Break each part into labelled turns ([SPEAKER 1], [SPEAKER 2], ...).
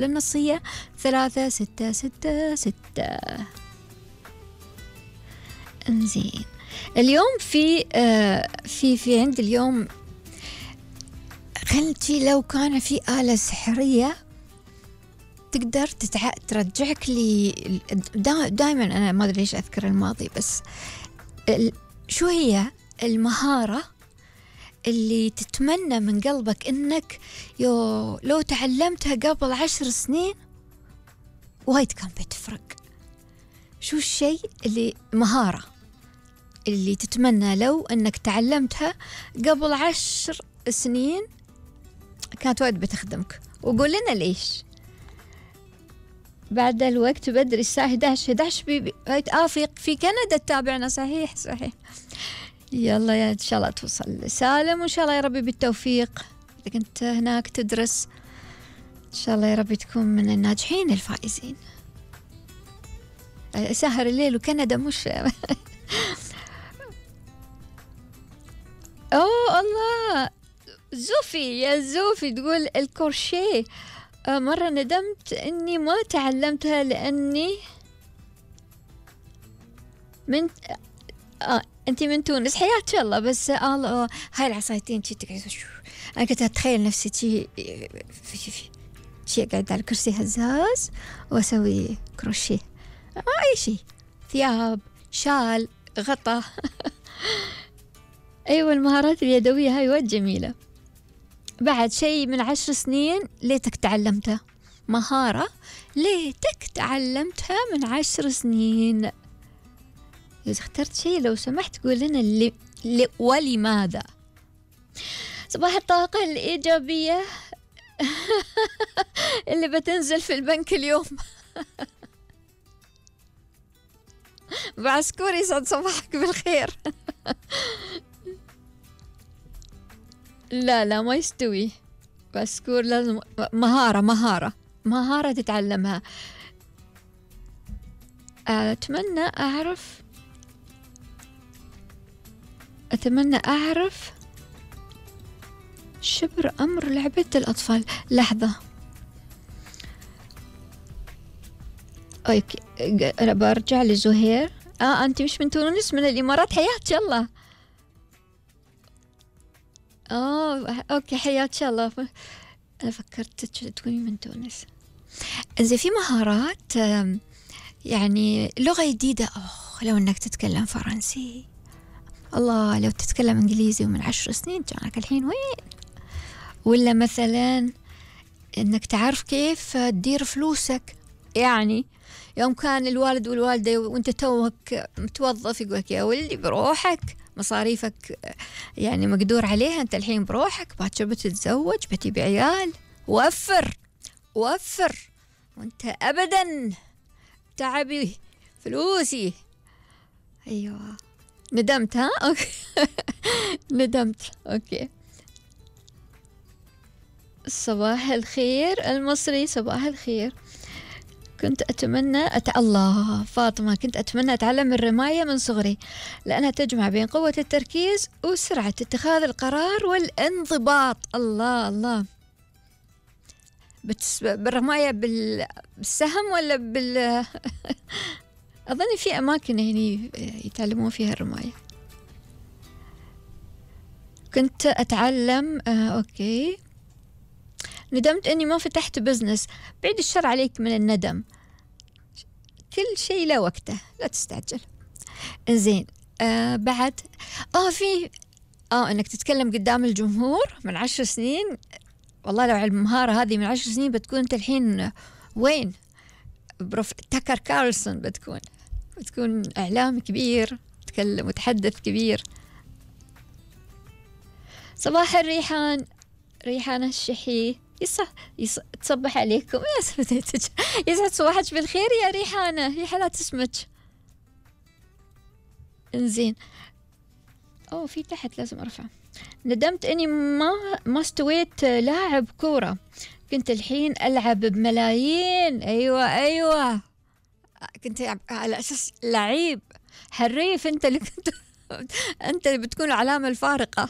[SPEAKER 1] للنصية 3666. انزين اليوم في عند اليوم خلتي لو كان في آلة سحرية تقدر ترجعك لي. دائما أنا ما أدري ليش أذكر الماضي، بس شو هي المهارة اللي تتمنى من قلبك إنك لو تعلمتها قبل 10 سنين وايد كان بتفرق؟ شو الشيء مهارة اللي تتمنى لو إنك تعلمتها قبل 10 سنين كانت وايد بتخدمك؟ وقول لنا ليش. بعد الوقت بدري الساعة 11 في كندا تتابعنا. صحيح. يلا يا إن شاء الله توصل سالم، وإن شاء الله يا ربي بالتوفيق. إذا كنت هناك تدرس إن شاء الله يا ربي تكون من الناجحين الفائزين. سهر الليل وكندا مش أوه الله. زوفي تقول الكروشيه. مرة ندمت إني ما تعلمتها لأني من أنتي من تونس. حياك الله. بس هاي العصايتين أنا كنت أتخيل نفسي شي قاعد على كرسي هزاز وأسوي كروشيه. أي شيء، ثياب، شال، غطا. أيوة المهارات اليدوية هاي وايد جميلة. بعد شيء من 10 سنين ليتك تعلمتها، مهارة ليتك تعلمتها من 10 سنين. إذا اخترت شيء لو سمحت قول لنا ولماذا. صباح الطاقة الإيجابية اللي بتنزل في البنك اليوم. بعسكور يسعد صباحك بالخير. لا ما يستوي بسكور، لازم مهارة تتعلمها. أتمنى أعرف شبر أمر لعبة الأطفال. لحظة أوكي، أنا برجع لزهير. أنت مش من تونس، من الإمارات. حياك الله. أوكي حياك الله. أنا فكرت تكوني من تونس. إذا في مهارات يعني لغة جديدة، لو إنك تتكلم فرنسي، الله لو تتكلم إنجليزي ومن 10 سنين كانك الحين وين. ولا مثلا إنك تعرف كيف تدير فلوسك. يعني يوم كان الوالد والوالدة وانت توك متوظف يقولك يا ولدي بروحك مصاريفك يعني مقدور عليها، انت الحين بروحك باكر بتتزوج بتجيب عيال، وفر وانت ابدا تعبي فلوسي. ايوه ندمت. اوكي. ندمت. اوكي. صباح الخير المصري. صباح الخير. كنت أتمنى الله فاطمة، كنت أتمنى أتعلم الرماية من صغري لأنها تجمع بين قوة التركيز وسرعة اتخاذ القرار والانضباط. الله بالرماية بالسهم ولا أظن في أماكن هنا يتعلمون فيها الرماية. كنت أتعلم. أوكي. ندمت أني ما فتحت بزنس. بعيد الشر عليك من الندم، كل شيء له وقته، لا تستعجل. زين. بعد في أنك تتكلم قدام الجمهور من 10 سنين. والله لو على المهارة هذه من 10 سنين بتكون أنت الحين وين؟ تاكر كارلسون بتكون إعلام كبير، تتكلم وتحدث كبير. صباح الريحان. ريحان الشحي. تصبح عليكم. يسعد صباحك بالخير يا ريحانة، يا حالات اسمك. انزين. في تحت لازم ارفع. ندمت اني ما استويت لاعب كورة، كنت الحين العب بملايين. ايوه كنت على اساس لعيب حريف. انت اللي بتكون العلامة الفارقة.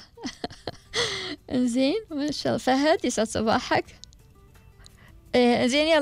[SPEAKER 1] انزين ما شاء الله. فهد يسعد صباحك. زين يلا.